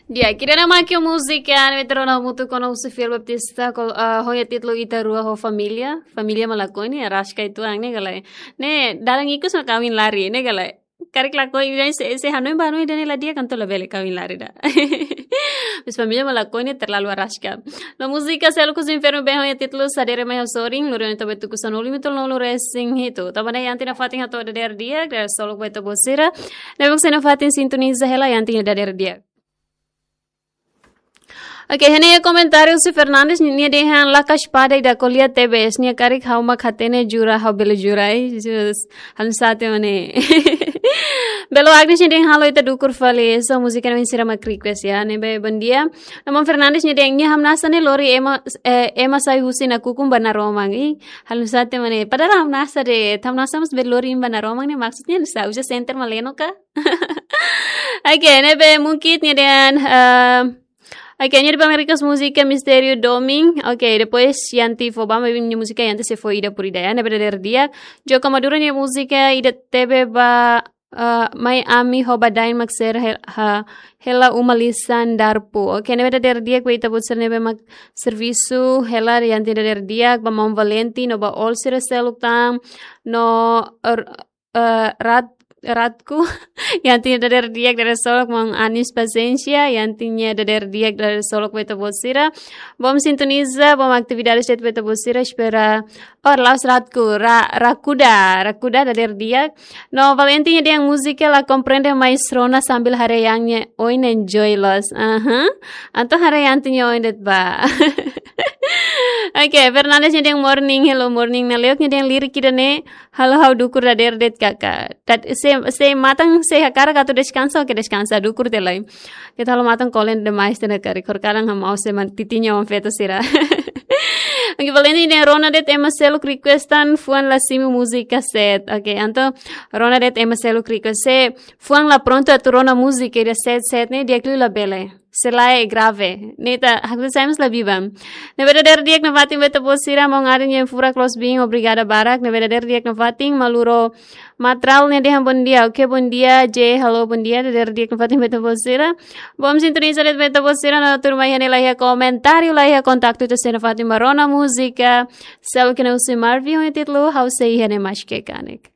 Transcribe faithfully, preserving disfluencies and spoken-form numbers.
Di'ak, ida-ne'e mak múzika ne'ebé rona hamutuk ho ona husi Fiel Baptista, kol-, ah, ho nia títulu Ita Rua ho Família, Família mak lakohi ne'e, araska uitoan ne'e ka lae. Ne'e, dalan ikus mak kawin lari ne'e ka lae. Karik lakohi, se, se hanoin ba hanoin ida-ne'e la di'ak, entaun labele kawin lari ida. Mas Família mak lakohi ne'e terlalu araska. No múzika Seluk husi Infernu Been ho nia títulu Sadere Mai Ha'u Sorin, lori ona to'o ba tuku sanulu-resin-hitu. Tanba ne'e Yanti nafatin hato'o dadeer di'ak, dadeer solok ba ita-boot sira. Ne'ebé mak sei nafatin sintoniza hela Yanti nia dadeer di'ak. Oke, iha ne'e komentáriu husi Fernandes, nia dehan lakas pada ida ko'alia tebes, nia karik ha'u mak hatene jura, ha'u bele jura, eh, Jesus, halo sate mane. Belo Agnes nia dehan halo ita dukur fali, so múzika ne'e sira mak request ya, ne'ebé bondia. Namun Fernandes nia dehan nia hamnasa ne'e lori ema, eh, ema sai husi nakukun ba naroman, ih, halo sate mane. Padahal hamnasa de'it, hamnasa mós bele lori ba naroman ne'e maksudnya nusá, uza senter mak leno ka? Oke, ne'ebé mungkin nia dehan, eh, oke, nia dehan ba nia request múzika Mistériu Domin. Oke, depois Yanti fó ba, maibé nia múzika Yanti sei fó ida por ida ya, ne'ebé dadeer di'ak. Joko Maduro nia múzika ida tebe ba, eh, Mai Ami ho Badain mak sira hel-, ha, hela uma lisan darpu. Oke, ne'ebé dadeer di'ak ba ita-boot sira ne'ebé mak servisu hela Yanti dadeer di'ak, ba maun Valenti no ba oin sira seluk tan, no, er, eh, Rat-, Ratku, Yanti nia dadeer di'ak dadeer solok, maun Anis Paciência, Yanti nia dadeer di'ak dadeer solok ba ita-boot sira. Bom sintoniza, bom atividades de'it ba ita-boot sira, espera. Oh, la'ós Ratku, Ra-, Rakuda, Rakuda dadeer di'ak. No Valenti nia dehan múzika la komprende, mas rona sambil haree Yan nia oin enjoy loos. Aha. Entaun haree Yanti nia oin de'it ba. Oke, Fernandes nia dehan morning, hello morning. Naleok nia dehan lirik ida-ne'e halo ha'u dukur dadeer de'it kaka. Tat-, se, se matan sei hakarak atu deskansa, oke deskansa, dukur tiha lai. Keta halo matan kolen demais tiha ona karik, hor kalan hamau se man titinya wan feto sira. Oke, Valenti nia dehan rona de'it ema seluk requestan fuan la simu múzika set. Oke, entaun rona de'it ema seluk request. Se fuan la prontu atu rona múzika ida set set ne'e di'ak liu labele. Se lae grave. Ne'e ita haksa sai mós la biban. Ne'ebé dadeer di'ak nafatin ba ita-boot sira, maun Ari nia furak loos biin, obrigada barak. Ne'ebé dadeer di'ak nafatin, Maluro Matral nia dehan bondia. Oke, bondia, J, halo, bondia, dadeer di'ak nafatin ba ita-boot sira. Bom sintoniza de'it ba ita-boot sira, no tuirmai iha ne'e la iha komentáriu, la iha kontaktu, ita sei nafatin ba rona múzika. Seluk ne'e husi Marvin ho nia títulu Ha'u Sei Iha Ne'e Maske Kanek.